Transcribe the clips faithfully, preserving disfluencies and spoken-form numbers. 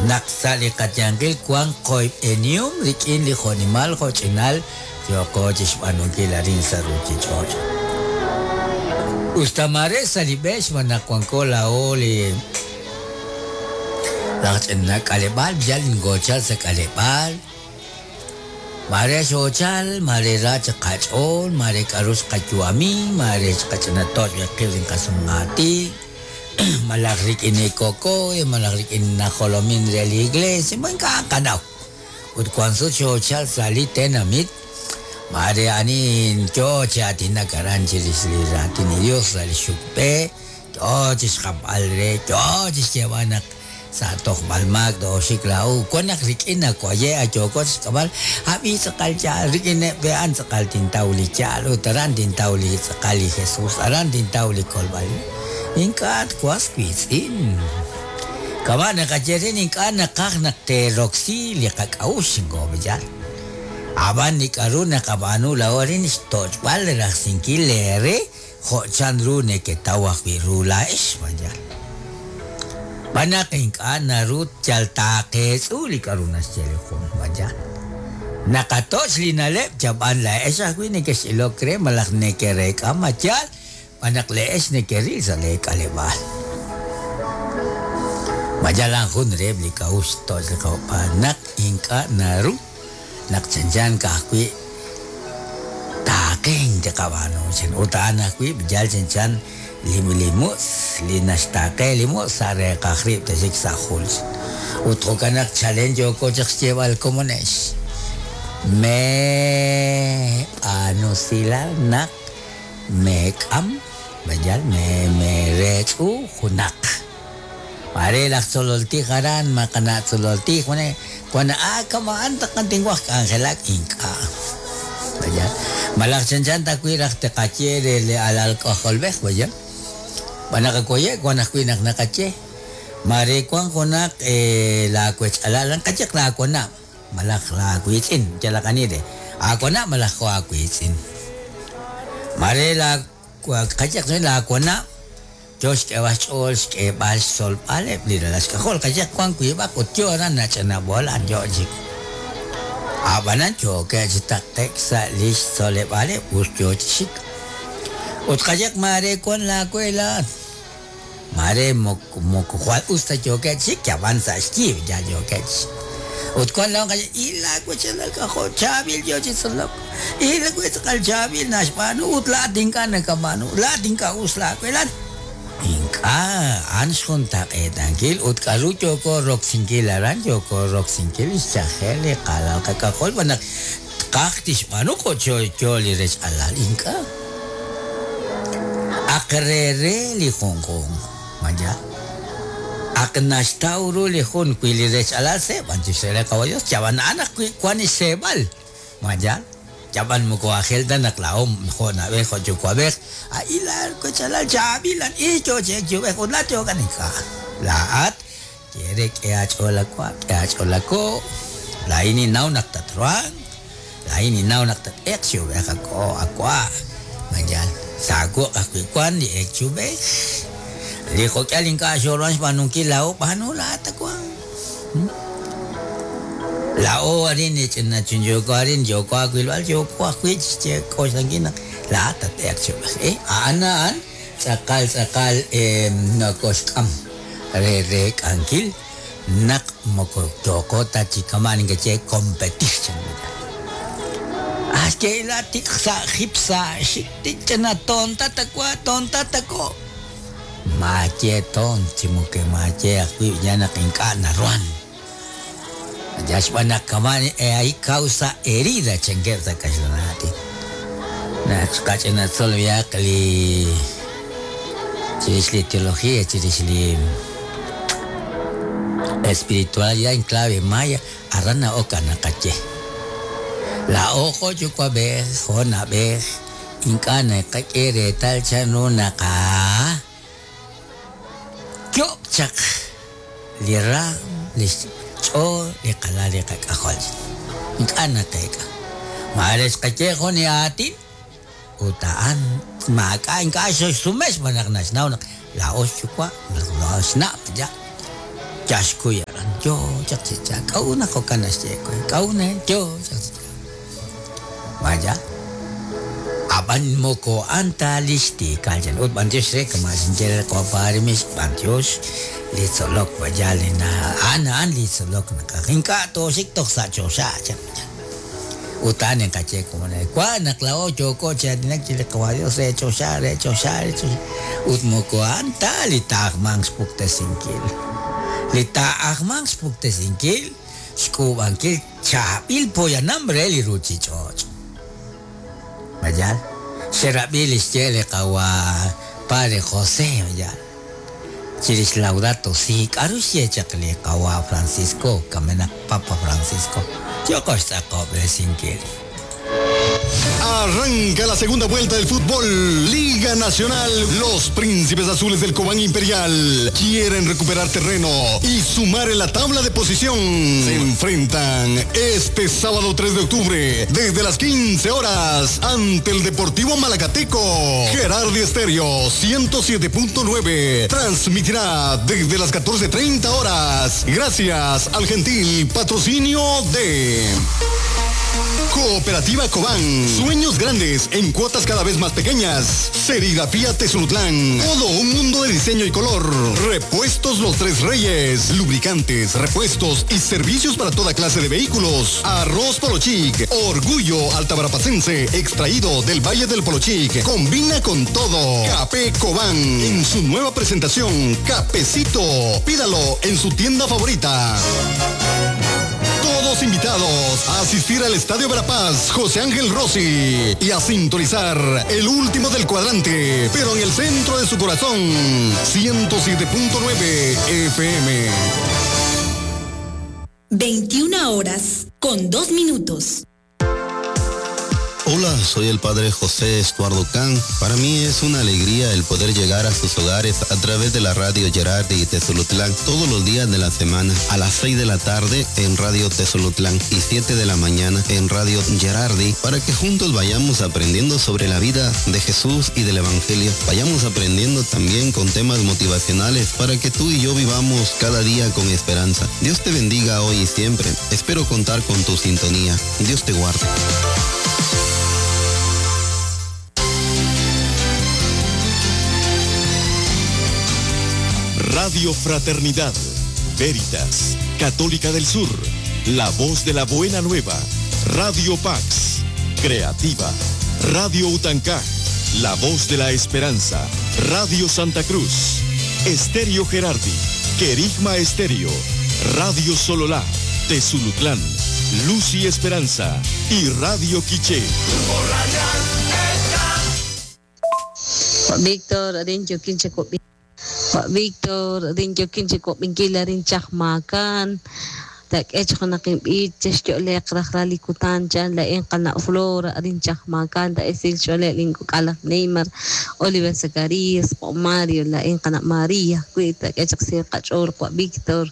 Naq sa' li qayanqil wank qoyb'enihom rik'in li jo'nimal jo'ch'inal yooqo chixb'aanunkil arin sa' ruuchich'och'. Usta mare sa' li b'e xb'aan naq wanko laa'o li laj ch'ina k'aleb'aal yal ngochal sa' k'aleb'aal. Mare xochal, mare ra chaq qach'ool, mare k'aru xqayu'ami, mare xqach'ina toch' qib' inqasumng'ati. Malaj rik'in koko, malaj rik'in najolomin re li iglesia, ink'a' qanaw. Ut wank sut xochal sa' li tenamit, mare anin yo chi aatinak aran chirix li raatin li Dios sa' li xukb'e, yo chi xjapb'al re, yo chi xyeeb'al naq sa' tojb'al maak tooxik laa'u. Wan naq rik'in nawaye' ayooko chi xk'ab'al, ab'i tz'aqal yaal, rik'in eb' a'an tz'aqal tintaw li yaal, ut aran tintaw li tz'aqal li Jesus, aran tintaw li kolb'al. Ink'a' twas wiitz'in. Kama' naqaye rin ink'a' naqaj naq teeroksi li qak'a'uxl ngob'iyal. Ab'an li k'aru naqab'aanu laa'o arin xtoch'b'al rajsinkil leere jo' chanru neketaw ajwi' ru laa'ex mayal. B'an naq ink'a' naru yal taaqeetz'u li k'aru naxye li jun mayal. Naqatoch' li na'leb' chab'an laa'ex ajwi' nekex'ilok re malaj nekereek'a mayal b'an naq le'ex nekeril sa' leek'aleb'aal. Mayalan jun reheb' li k'a'uxl toch' li qawb'aan naq ink'a' naru naq chanchan ka'ajwi' taaqen tiqab'aanu chan ut a'an ajwi' yal chanchan li li mutz' li naxtaaqe li mutz' sa' reeqaj rib' taxik sa' jul. Ut jo'kan naq chalen yooko chaq xyeeb'al komonex. Me b'aanusilal naq meek'am mayal me mereech'u junaq. Mare laj tzololtij aran maqana' tzololtij wane wan a kama'an taqan tinwaj k'anjelak ink'a'. Mayal malaj chanchan tajwi' raj tiqaye re li alal k'ajolb'ej mayal. B'an naqakoye' wan ajwi' naq naqaye. Mare wan junaq laawech'alal qayeq laawanab' malaj laawiitz'in yalaq ani re aawanab' malaj jo' aawiitz'in. Mare la qayeq laawanab' yo xk'eb'al xch'ool xk'eb'al xtzolb'aleb' li ralal xk'ajol qayeq wan wiib'aq ut yo aran nach'anab'olan yo chik. Ab'anan yookeb' chi taqe'k sa' li xtzoleb'aleb' us yo chi xik. Ut qayeq mare wan laawe laa'at. Mare moko moko jwal us ta yookeb' chik yab'an sa' xyiib' yal yookeb' chi xik. Ut wan laa'o qayeq i laawech'alal k'ajol chaab'il yo chi tzolok. I laawe tz'aqal chaab'il naxb'aanu ut laa'at ink'a' nakab'aanu laa'at ink'a' us laawe laa'at. Ink'a' a'an xjuntaq'eetankil ut k'aru yooko roksinkil aran yooko roksinkil xchajel li qalal qak'ajol b'an naq tqaj tixb'aanu jo' yo li rech'alal ink'a'. Aq re re li junjunq mayal. Aq naxtaw ru li jun wi li rech'alal seeb'an chixre qawa Dios chab'an a'an ajwi' wan xseeb'al mayal. Chab'an moko ajel ta naq laa'o jo' nab'ej jo' yuwa'b'ej a'i laawech'alal chaab'ilan i yo chek yub'ej ut laa'at yookan ink'a'. Laa'at kere k'e aach'ool awa' k'e aach'ool ako' laa'in ninnaw naq tatruhanq laa'in ninnaw naq tat'eq xyub'ej ako' awa' mayal. Saawoq ajwi' wan li ek xyub'ej li jo'k'al ink'a' xooruhan xb'aanunkil laa'o b'aanu laa'at awa'. Laa'o arin ch'ina chunyooko arin yooko aawilb'al yooko ajwi' chixk'oxlankil naq laa'at tat'eq xyub'ej. Eh, a'an a'an tz'aqal tz'aqal nokoxk'am re reek'ankil naq moko yooko ta chi kama'an inkache competir chan. Axke la tik sa' jip sa' xik ch'ina tonta takwa tonta tako. Maye ton chimuke maye ajwi' ya naq ink'a' naruhan. Ya xb'aan naq kama'an ahí causa herida chankeb' sa' kaxlanati. Naq xqach'ina tzolbiaq li chirix li teología chirix li espiritualidad en clave maya aran na'ok naqaye. Laa'o jo' yuwa'b'ej jo' nab'ej ink'a' naqak'e reetal chanru naqa yo'b chaq li raam li xch'ool li qalal li qak'ajol. Ink'a' naqeek'a. Mare xqaye jun li aatin ut a'an maak'a' ink'a' xoxsume xb'aan naq naxnaw naq laa'o xyuwa' laa'o xnab' ya yaxkuy aran Yo chaq chi cha k'a'u naq jo'kan naxye we k'a'u ne yo chaq chi cha vaya ab'an moko anta lix tiikal chan ut b'antiox re kama xinye re qawa Parimix b'antiox li tzolok vaya li na a'an a'an li tzolok naqaj ink'a' tooxik toj sa' choxa chan ut a'an inqaye como ne wa naq la'o yoko chi aatinak chi li qawa Dios re choxa re choxa re choxa ut moko a'an ta li taajmanq xpuktesinkil li taajmanq xpuktesinkil xk'uub'ankil chaab'il poyanam re li ruuchich'och' vaya xerab'i li xye li qawa Padre José vaya chirix Laudato Si k'aru xye chaq li qawa Francisco kamenaq Papa Francisco yoko xtz'aqob'resinkil. Arranca la segunda vuelta del fútbol Liga Nacional. Los Príncipes Azules del Cobán Imperial quieren recuperar terreno y sumar en la tabla de posición. Se enfrentan este sábado tres de octubre desde las quince horas ante el Deportivo Malacateco. Gerardi Estéreo ciento siete punto nueve transmitirá desde las catorce treinta horas. Gracias al gentil patrocinio de Cooperativa Cobán. Sueños grandes en cuotas cada vez más pequeñas. Serigrafía Tezulutlán. Todo un mundo de diseño y color. Repuestos Los Tres Reyes. Lubricantes, repuestos y servicios para toda clase de vehículos. Arroz Polochic. Orgullo altabarapacense. Extraído del Valle del Polochic. Combina con todo. Café Cobán. En su nueva presentación, Cafecito. Pídalo en su tienda favorita. Todos invitados a asistir al Estadio Verapaz José Ángel Rossi y a sintonizar el último del cuadrante, pero en el centro de su corazón, ciento siete punto nueve F M. veintiuna horas con dos minutos. Hola, soy el padre José Estuardo Can. Para mí es una alegría el poder llegar a sus hogares a través de la radio Gerardi y Tezulutlán todos los días de la semana a las seis de la tarde en Radio Tezulutlán y siete de la mañana en Radio Gerardi, para que juntos vayamos aprendiendo sobre la vida de Jesús y del Evangelio. Vayamos aprendiendo también con temas motivacionales para que tú y yo vivamos cada día con esperanza. Dios te bendiga hoy y siempre. Espero contar con tu sintonía. Dios te guarde. Radio Fraternidad, Veritas, Católica del Sur, La Voz de la Buena Nueva, Radio Pax, Creativa, Radio Utancá, La Voz de la Esperanza, Radio Santa Cruz, Estéreo Gerardi, Querigma Estéreo, Radio Sololá, Tezulutlán, Luz y Esperanza y Radio Quiché. Víctor, Adincho, Quinche, Víctor, Adincho, Quinche, Copinkila, Rinchachmacan, Tak echqonaqinp'ich chexyo'leq rajralikutan chan la inqana Flora rinchajmakan ta esil xole linkuk'alaj Neymar Oliver Zacarías o Mario la inqana María kwi tak echq siqach'or kwa Víctor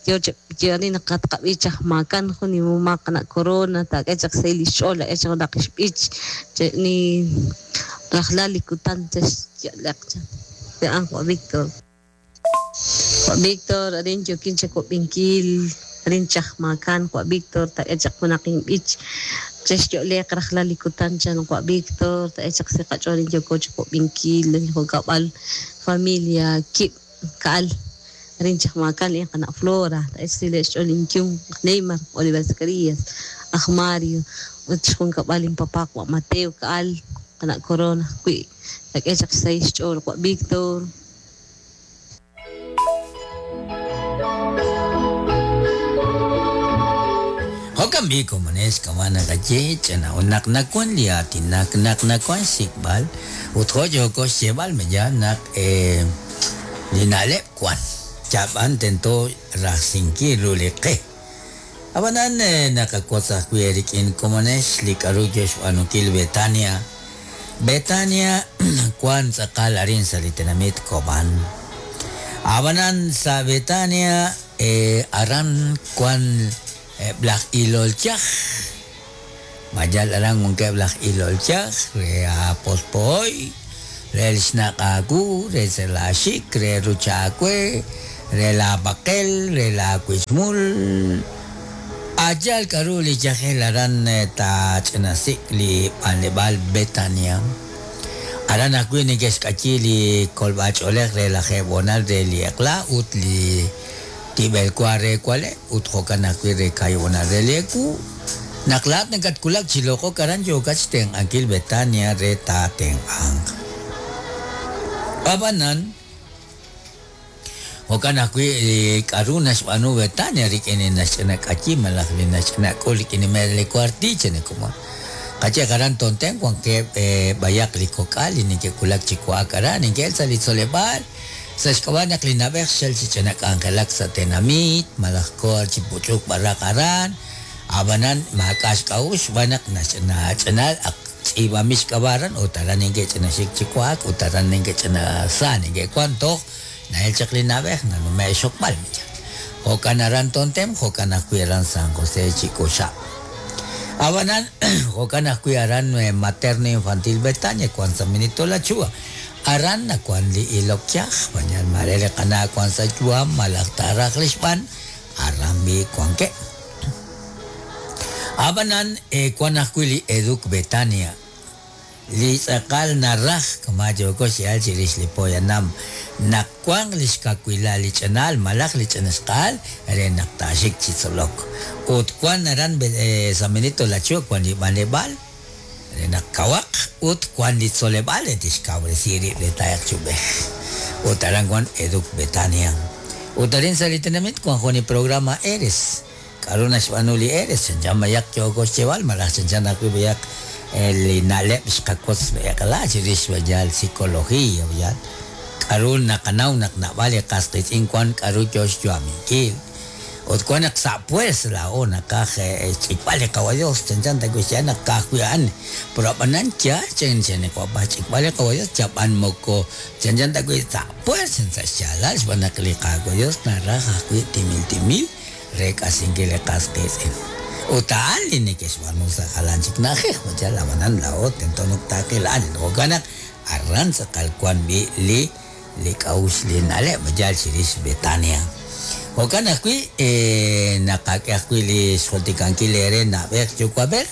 yo yarina qatqab'ichajmakan juni mumaqna Corona tak echq silix'ola echqonaqixp'ich ni rajlalikutan chexyo'leq chan te anqwa Víctor. Víctor arincho kinche kopinkil rinchajmakan kwa Víctor ta echaq junaqinp'ich chexyo'leq rajlalikutan chan kwa Víctor ta echaq siqach'orin yokoch kopinkil junkab'al familia kib ka'al rinchajmakan inqana Flora ta ech silexch'olin kyun Neymar Oliver Zacarías aj Mario ut junkab'al inpapá kwa Mateo ka'al qana Corona kwi tak echaq sayxch'ol kwa Víctor. Jo'kan b'i komones kawana kaye chana unak nakwan liati nak nak nakwan sikbal ut jo yoko xyebal meya nak eh linalep kwan chaban tento rajsinki ruliqe abanan nakakotzaj kwi erikin komones lik'aru yoxb'anukil Betania Betania kwan tz'aqal arin sa li tenamit Cobán abanan sa Betania eh, aran kwan blaj ilolchaj mayal aran unke blaj ilolchaj re apospoy re xnaqaku re selashik re ruchakwe re la baqel, re la wismul. Ayal k'aru li yajel aran tach'inasik li b'anleb'aal Betania. Aran ajwi' neke'xk'ayi li kolb'ach'oolej re la jeb'onal re li eq'la ut li tib'elwa re kualeb' ut jo'kan ajwi' re kayib'onal re li eku. Naq laat nakatkulak chi loq'ok aran yookat xtenq'ankil Betania re taatenq'anq. Ab'anan jo'kan ajwi' k'aru naxb'aanu Betania rik'in li naxch'inak'ayi malaj li naxch'inak'ul rik'in li mer li kuartiche nekumon. Qache aran tonten wankeb' b'ayaq li kok'al li neke'kulak chi wa'ak aran neke'el sa' li tzoleb'aal sa' xk'ab'a' naq li nab'ej xel chi ch'inak'anjelak sa' tenamit malaj koor chi puch'uk b'araq aran ab'anan maak'a' xk'a'uxl xb'aan naq naxch'inach'inal ak tz'iib'amil xk'ab'a' aran ut aran neke'ch'inaxik chi wa'ak ut aran neke'ch'inasa neke'wan toj na'el chaq li nab'ej nanume' xokb'al. Jo'kan aran Tontem, jo'kan ajwi' aran San José Chicoxa. Ab'anan jo'kan ajwi' aran Materno Infantil Betania wan sa Minito La Chua. Aran nawan li ilok yaj, bañal mare li qana wan sa yuam malaj taraj li xb'an aran bi wanke. Ab'anan wan ajwi' li Educ Betania. Li tz'aqal naraj kama yooko xyal chirix li poyanam naq wanq li xkawila li ch'inal malaj li ch'inxq'aal re naq taaxik chi tzolok. Ut wan aran San Benito La Chua wan li b'anleb'aal re naq kawaq ut wan li tzoleb'aal re tixkawresi rib' re taayaq chub'ej. Ut aran wan Educ Betania. Ut arin sa' li tenamit wan jun li programa Eres. K'aru naxb'aanu li Eres chanchan mayaq yooko xcheb'al malaj chanchan ajwi' mayaq li na'leb' xqakotz eq'la chirix b'ayal psicología b'ayal k'aru naqanaw naq nab'al li qas qitz'in wan k'aru yo xyu'aminkil ut wan naq sa' puers laa'o naqaj ch'ikb'al li qawa Dios chanchan ta kuxya naq ka'ajwi' a'an pero ab'anan yaal chanchan qawapaj ch'ikb'al li qawa Dios chab'an moko chanchan ta kuy sa' puers sa' xyaalal xb'aan naq li qawa Dios naraj ajwi' timil timil re k'asinkil li qas qitz'in. Ut a'an li neke'xb'aanu sa' jalan chik na'ajej b'ayal ab'anan laa'o tento naq taaqil a'an jo'kan naq aran tz'aqal wan b'i li li k'a'uxl li na'leb' b'ayal chirix Betania. Jo'kan ajwi' naqak'e ajwi' li xjultikankil eere na'b'ej yuwa'b'ej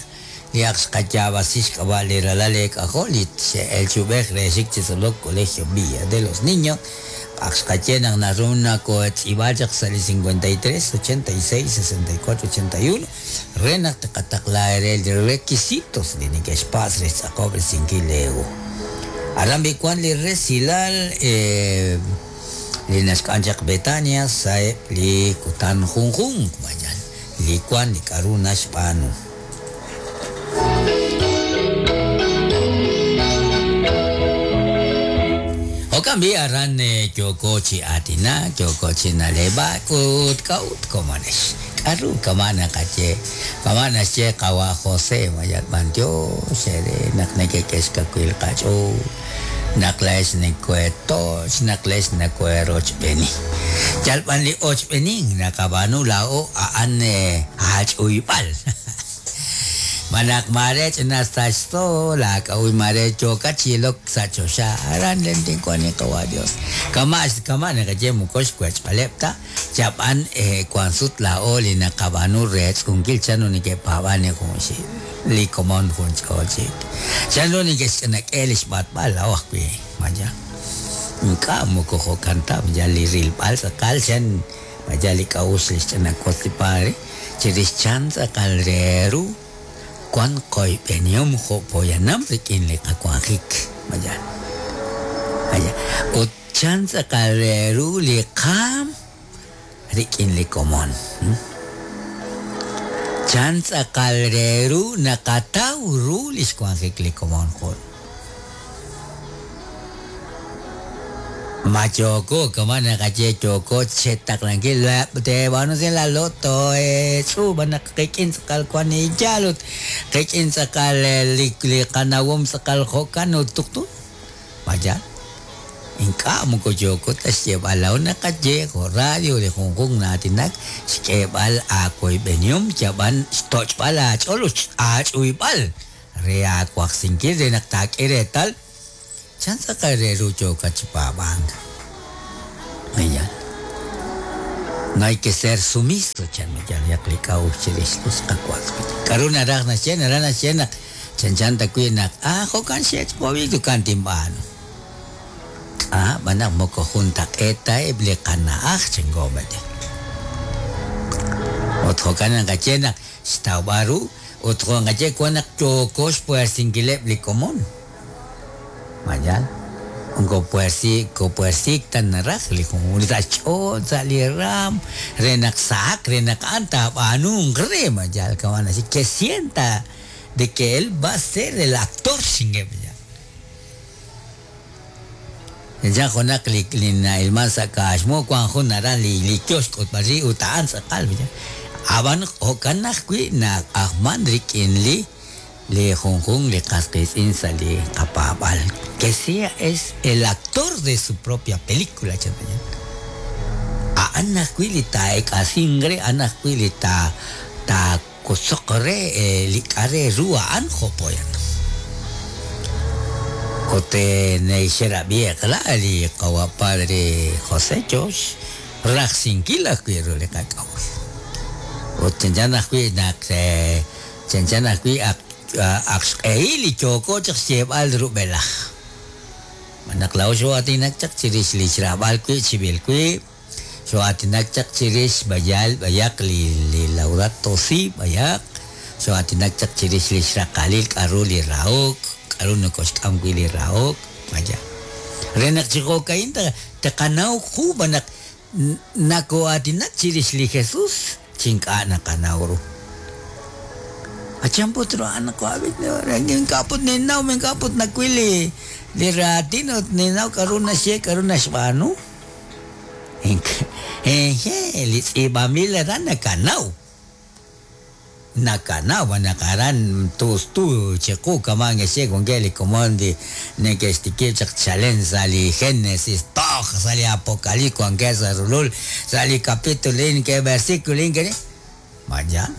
li ak xqayaab'asi xk'ab'a' li ralal eek'ajol li xe'el chub'ej re xik chi tzolok Colegio Villa de los Niños. Ak xqaye naq naru nakotz'iib'al chaq sa' li cincuenta y tres, ochenta y seis, sesenta y cuatro, ochenta y uno re naq tqataqla ere li requisitos li neke'xpatz' re xtz'aqob'resinkil eegu. Aran b'i wan li resilal li naxk'an chaq Betania sa'eb' li kutan junjunq b'ayal li wan li k'aru naxb'aanu. Jo'kan b'i aran yooko chi aatinak, yooko chi na'leb'ak ut k'a'ut komonex. K'aru kama naqaye, kama naxye qawa José mayal b'antiox ere naq neke'k'e xkawil qach'ool, naq la'ex nekoetoch, naq la'ex nekoerochb'eni. Yal b'an li ochb'enin naqab'aanu laa'o a'an aach'uyb'al. Malak mare ch'inastaxto laak'a'uy mare yookat chi ilok sa' choxa aran len tinkuan li qawa Dios. Kama kama naqaye moko xwech'b'aleb' ta chab'an wan sut laa'o li naqab'aanu re tz'unkil chanru neke'paab'an li junxil li komon jun ch'ool chik. Chanru neke'xch'inak'e li xb'atb'al laa'o ajwi' maya. Ink'a' moko jo'kan ta ya li rilb'al tz'aqal chan maya li k'a'uxl li xch'inakotz li padre chirix chan tz'aqal re ru wan qoyb'enihom jo' poyanam rik'in li qawanjik maya. Aya ut chan tz'aqal re ru li qaam rik'in li komon. Chan tz'aqal re ru naqataw ru li xwanjik li komon jun. Ma yoko kama naqaye yoko chetaqlankil teeb'aanu la loto tz'uub'an naq qik'in tz'aqal wan yaal ut qik'in tz'aqal li li qanawom tz'aqal jo'kan ut tuqtu maya. Ink'a' moko yoko ta xyeeb'al laa'o naqaye jo' radio li junjunq naatinak xk'eeb'al aakoyb'enihom yab'an xtoch'b'al aach'ool ut aach'uyb'al re aawajsinkil re naq taak'e reetal chan tz'aqal re ru yookat chi paab'ank. Ayan. No hay que ser sumiso, chan mayal li k'a'uxl chirix li xqawa'. K'aru naraj naxye, naraj naxye naq chanchan ta wi' naq ah jo'kan xe'ch q'obi tukan tinb'aanu. Ah, b'anaq moko juntaq'eet ta eb' li qana'aj chanko mayal. Ut jo'kan naqaye naq xtawb'al ru ut jo'nqaye wan naq yooko xpuersinkileb' li komon. Mayal. Unko puersi, ko puersik tan naraj li jun sa' xch'ool sa' li ram re naq sahaq re naq a'an taab'aanunq re mayal kawan así que sienta de que él va a ser el actor xingeb ya. Ya junaq li li na'ilman sa' kaaxmu wan jun aran li li kiosk ut b'arri ut a'an tz'aqal ya. Ab'an jo'kan ajwi' naq ajman rik'in li li junjun li qas qiitz'in sa' li qapaab'al que sea es el actor de su propia película chan a'an ajwi' li taa'ek'asin re a'an ajwi' li ta taakosoq re li k'a' re ru a'an jo'poyan ut nexerab'i eqla li qawa' padre José Josh rajsinkil ajwi' ru li qak'a'uxl ut chanchan ajwi' naq chanchan ajwi' ak ak xq'ehil li yooko chaq xyeeb'al rub'elaj. Naq laa'o xo'aatinak chaq chirix li xraab'al wi' chib'il wi', xo'aatinak chaq chirix b'ayal b'ayaq li li Laudato Si b'ayaq, xo'aatinak chaq chirix li xraqalil k'aru li rahok, k'aru nokoxk'am wi' li rahok, b'ayaq. Re naq chi jo'ka'in taqanaw ju b'anaq nako'aatinak chirix li Jesús chink'a' naqanaw ru. Achan put ru a'an qawab'it ink'a' put ninnaw ink'a' put nawil li li raatin ut ninnaw k'aru naxye k'aru naxb'aanu. Eje li tz'iib'anb'il aran nakanaw. Nakanaw naq aran tustu chiqu kaman xye wankeb' li komon li neke'xtikib' chaq chalen sa' li Génesis toj sa' li Apocalipsis wankeb' sa' rulul sa' li capítulo in ke versículo in ke maya.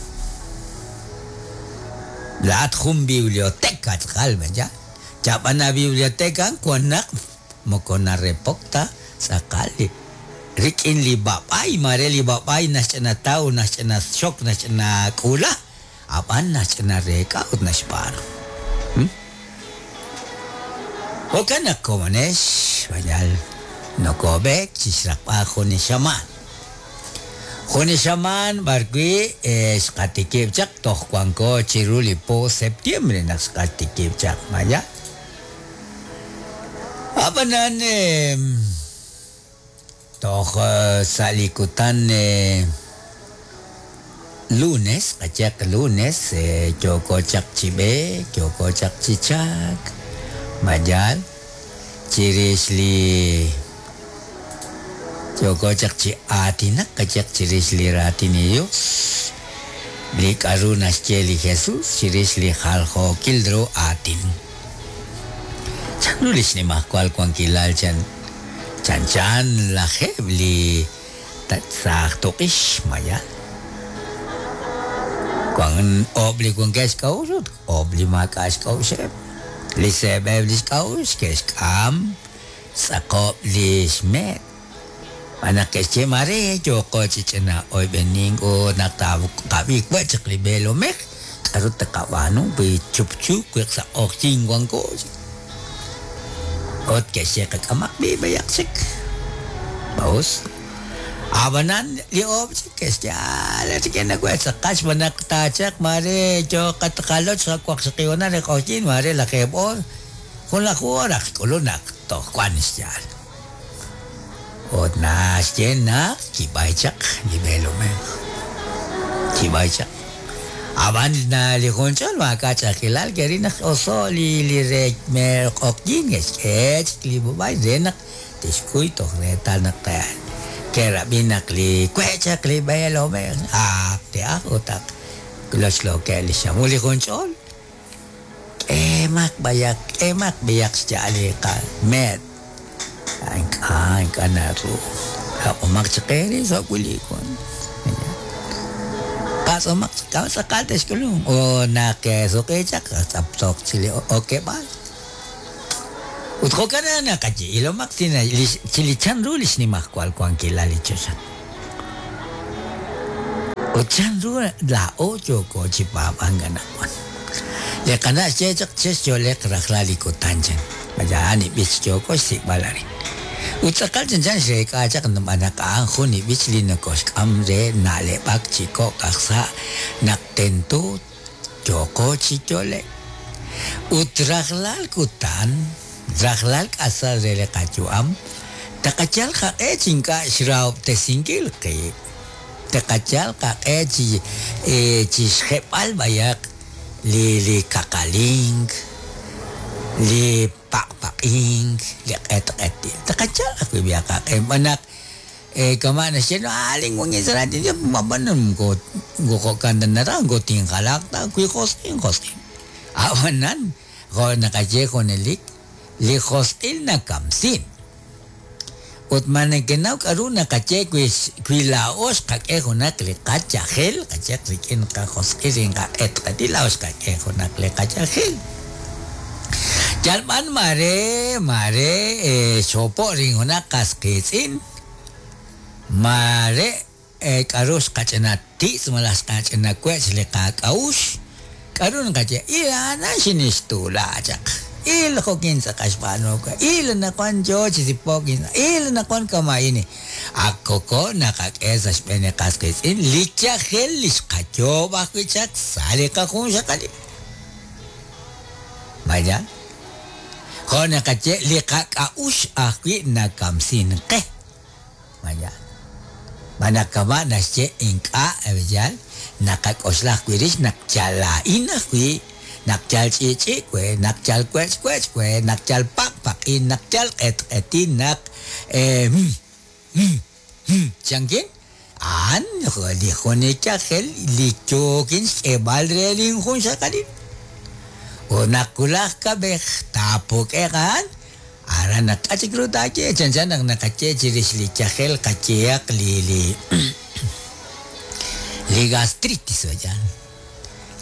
Laat jun biblioteca tz'aqal ya. Chap'ana biblioteca wan naq moko narepok ta tz'aqal li rik'in li b'ab'ay mare li b'ab'ay naxch'ina taw naxch'ina xok naxch'ina k'ula ab'an naxch'ina reek'a ut naxb'aanu. Jo'kan naq komonex bayal nokob'ek chixraqb'al jun li xamaan. Jun li xamaan b'arwi' xqatikib' chaq toj wanko chiru li po septiembre naq xqatikib' chaq maya. Ab'anan toj sa' li kutan lunes, qachaq lunes yooko chaq chi b'eek, yooko chaq chi chak, mayal chirix li yooko chaq chi aatinak qachaq chirix li raatin li Dios, li k'aru naxye li Jesús chirix li jaljookil ru aatin. Chanru li xnimajwal wankilal chan chanchan lajeb' li saaj tuq'ix mayal. Wan oob' li wankeb' xk'a'uxl ut oob' li maak'a' xk'a'uxeb'. Li seeb'eb' li xk'a'uxl ke'xk'am tz'aqob' li xmeet. Naq ke'xye mare yooko chi ch'ina oyb'enin ut naq taqab'i we' chaq li b'eelomej k'aru taqab'aanu wi chupchu wi sa' q'oqyin wanko. Ut ke'xye qak'amaq b'i b'ayaq chik. Baus. Ab'anan li oob' chik ke'xye ah rik'in nawe' tz'aqal xb'aan taachaq mare yoqat qaloch waqxaqib' re q'oqyin mare lajeeb' oor jun laj oor aj k'ulun naq toj wan xyaal. Ut naxye naq kib'ay chaq li b'eelomej. Kib'ay chaq. Ab'an na li junch'ol maak'a' ch'a'ajkilal ke'ril naq oso' li li re q'oqyin ke'xk'e chik li b'ab'ay re naq tixkuy toj reetal naq ke'rab'i naq li we' chaq li b'eelomej ak te'aj ut ak lochlookeb' li xamul li junch'ol. K'emaq b'ayaq k'emaq b'ayaq xya'al li qameet. Ink'a' ink'a' naru aq'umaq chaq eere sa' wili wan. Patz'omaq chaq tz'aqal te'xk'ulun o naq ke'suq'i chaq tz'aptz'oq chi li okeb'aal. Ut jo'kan naqaye ilomaq chi li chanru li xnimajwal wankilal li choxa. Ut chanru laa'o yooko chi paab'ank anaqwan. Li qana' xye chaq chexyo'leq rajlal li kutan chan. Maya'an ib'ich yooko xsik'b'al arin. Ut tz'aqal chanchan xreek'a chaq naq a'an jun ib'ich li nokoxk'am re na'leb'ak chi kok' aj sa' naq tento yooko chi yo'lek. Ut rajlal kutan, rajlal k'asal re li qayu'am, taqachal qaq'e chi ink'a' xrahob'tesinkil qib'. Taqachal qaq'e chi chi xjeb'al b'ayaq li li kaqalink, li paqpaq'ink, li q'etq'etil. Taqachal ajwi' b'ayaq qaq'e b'anaq kama' naxye alin wangisarati mabanan ko jo'kan ta naraj ko tinjalaq ta wi josq'in josq'in. Ab'anan jo' naqaye junelik li josq'il nakamsin. Ut ma nekenaw k'aru naqaye wi wi laa'o xqak'e junaq li qachajel, qayeq rik'in qajosq'il rik'in qaq'etq'etil laa'o xqak'e junaq li qachajel. Yalb'an mare mare xopo' rin junaq qas qiitz'in, mare k'aru xqach'ina titz' malaj xqach'ina wech' li qak'a'ux, k'aru naqaye il a'anan xinixtuula chaq. Il jo'kin tz'aqal xb'aanu we, il anaqwan yo chi sipok, il anaqwan kama'ini. Ak koko naqak'e sa' xb'een li qas qiitz'in li yajel li xqayoob' ajwi' chaq sa' li qajunxaqalil. Vaya. Jo' naqaye li qak'a'ux ajwi' nakamsin qe. Vaya. Manakama' naxye ink'a' yal naqak'oxla ajwi' rix naq yal laa'in ajwi' naq yal ch'i'ch'i' we, naq yal wech' wech' we, naq yal paqpaq'in, naq yal q'etq'etin, naq chankin a'an li jun li yajel li yookin xk'eeb'al re linjunxaqalil. Ut naq wulaj kab'ej taapuk'eq a'an, aran naq k'a chik ru taaye chanchan naq naqaye chirix li yajel qayehaq li li li gastritis vayan.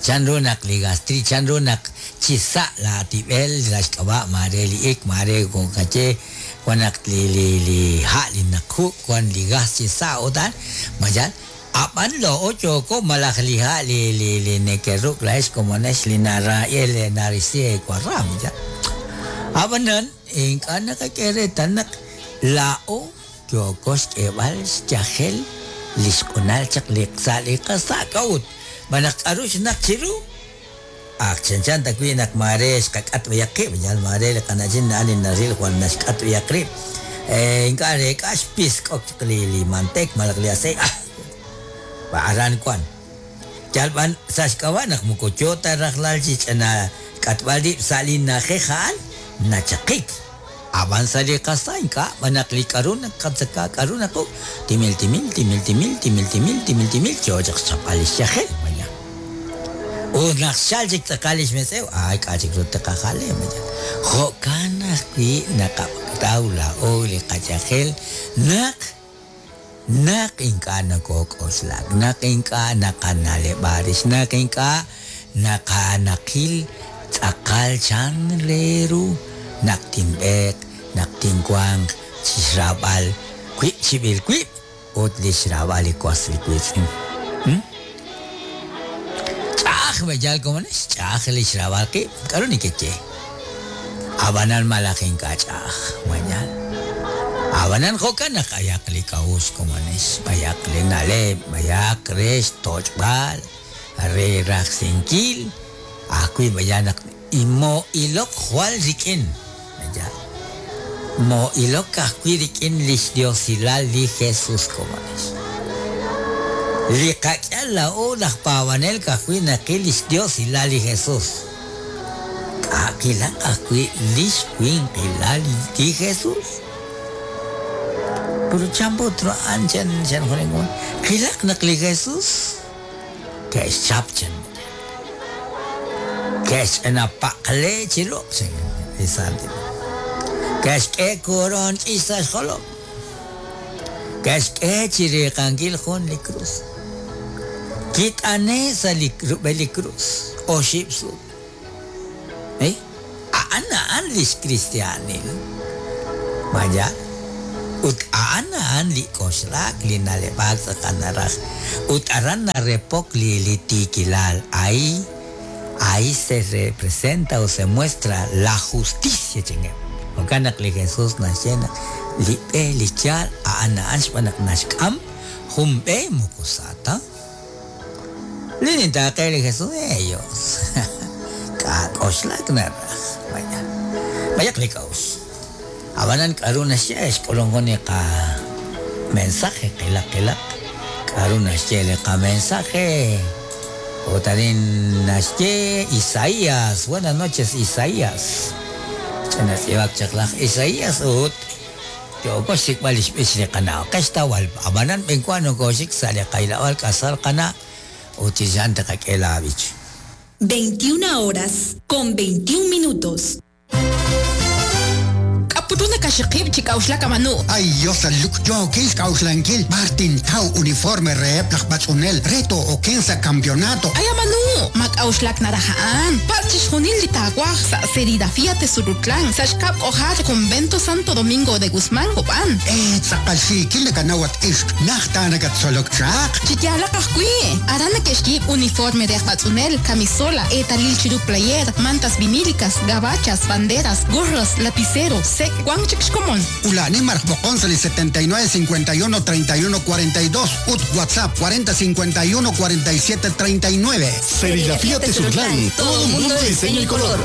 Chanru naq li gastritis, chanru naq chi sa' laatib'el sa' xk'ab'a' mare li ik, mare qaye wan naq li li li ha' li naqju' wan li gas chi sa' utan, mayan ab'an laa'o yooko malaj li ha' li li li nekeruk' laa'ex komonex li nara'el narisi eewarram ya. Ab'anan ink'a' naqak'e reetal naq laa'o yooko xk'eeb'al xyajel li xq'unal chaq li sa' li qasa' k'a'ut. Manaq k'aru xnaq chiru ak chanchan ta wi' naq mare xqak'at b'ayaq qib', yal mare li qana'chin na'an li naril jwal naxk'at b'ayaq rib'. Ink'a' reek'a xpisk'ok chaq li li manteek malaj li aceite. Aran wan. Yalb'an sa' xk'ab'a' naq moko yo ta rajlal chi ch'ina k'atb'al rib' sa' li na'ajej a'an nachaqik. Ab'an sa' li qasa' ink'a' b'anaq li k'aru naqatzaka k'aru naquk' timil timil timil timil timil timil timil timil yo chaq xchapb'al li xyajel maya. Ut naq xchal chik tz'aqal li xmetz'ew, ay k'a chik ru taqajale maya. Jo'kan ajwi' naqataw laa'o li qayajel naq naq ink'a' nokok'oxlak, naq ink'a' naqana'leb'a rix, naq ink'a' naqanaqil tz'aqal chan re ru naq tinb'eeq, naq tinwanq chi xraab'al wib' chib'il wib' ut li xraab'al li was li wiitz'in. Ch'a'aj b'eyal komonex, ch'a'aj li xraab'al qib', k'aru nekeye? Ab'anan malaj ink'a' ch'a'aj, mayal. Ab'anan jo'kan naq ayaq li k'a'uxl komonex, b'ayaq li na'leb', b'ayaq re xtoch'b'al, re rajsinkil, ajwi' b'ayaq naq mo'ilok jwal rik'in. Mo'ilok ajwi' rik'in li xdiosilal li Jesus komonex. Li qak'al laa'o laj paab'anel ka'ajwi' naqil li xdiosilal li Jesus. K'a'qilaq ajwi' li xwinqilal li Jesus. Pero chan put a'an chan chan jurengon. Qilaq naq li Jesus ke'xchap chan. Ke'xch'ina paqle chiru chan li Santil. Ke'xk'e koron ch'ix sa' xjolom. Ke'xk'e chi riiqankil jun li cruz. Kit'ane sa' li rub'el li cruz oxib' sut. Eh? A'an a'an lix cristianil. Vaya. Ut a'an a'an li k'oxlak li naleb'aak tz'aqal naraj. Ut aran narepok li li tiikilal. Ahí, ahí se representa o se muestra la justicia chingem. Jo'kan naq li Jesús naxye naq li b'e li yaal a'an a'an xb'aan naq naxk'am jun b'e moko sa ta. Li nintaaqe li Jesús ellos. K'a'k'oxlak naraj. Vaya. Vaya li k'a'uxl. Abanan k'aru naxye xk'ulungo ni qa mensaje qilaq qilaq k'aru naxye li qa mensaje. Otarin naxye Isaías. Buenas noches Isaías. Ch'anatz'ib'ak chaq laj Isaías ut yooko xsik'b'al li xb'ich li qana'. Qextawal abanan b'enkuan nokoxik sa' li qaylab'al k'asal qana' ut chixan taqak'e laab'ich. veintiuna horas con veintiún minutos. Putuna kashiqib chik'awxlak amanu. Ay, Dios, luk yo k'awxlankil Martin Tau uniforme reheb laj b'atz'unel reto okensa campeonato. Ay amanu, mak'awxlak naraja'an. Patz chixjunil li taawaj sa' serigrafía Tezulutlán, sa' xkab' k'ojar Convento Santo Domingo de Guzmán Copán. Eh, tz'aqal xiikil nakanawat ixq najta nakatsolok chaq. Chiyalaq ajwi'. Aran nakexyiib' uniforme de b'atz'unel, camisola, eetalil chiru player, mantas vinílicas, gabachas, banderas, gorros, lapicero, sec, Juan Chixcomón. Ulani Marjbocón setenta y nueve cincuenta y uno treinta y uno cuarenta y dos ut WhatsApp cuarenta cincuenta y uno cuarenta y siete treinta y nueve. Serigrafía Tezulutlán, todo un mundo de diseño y color.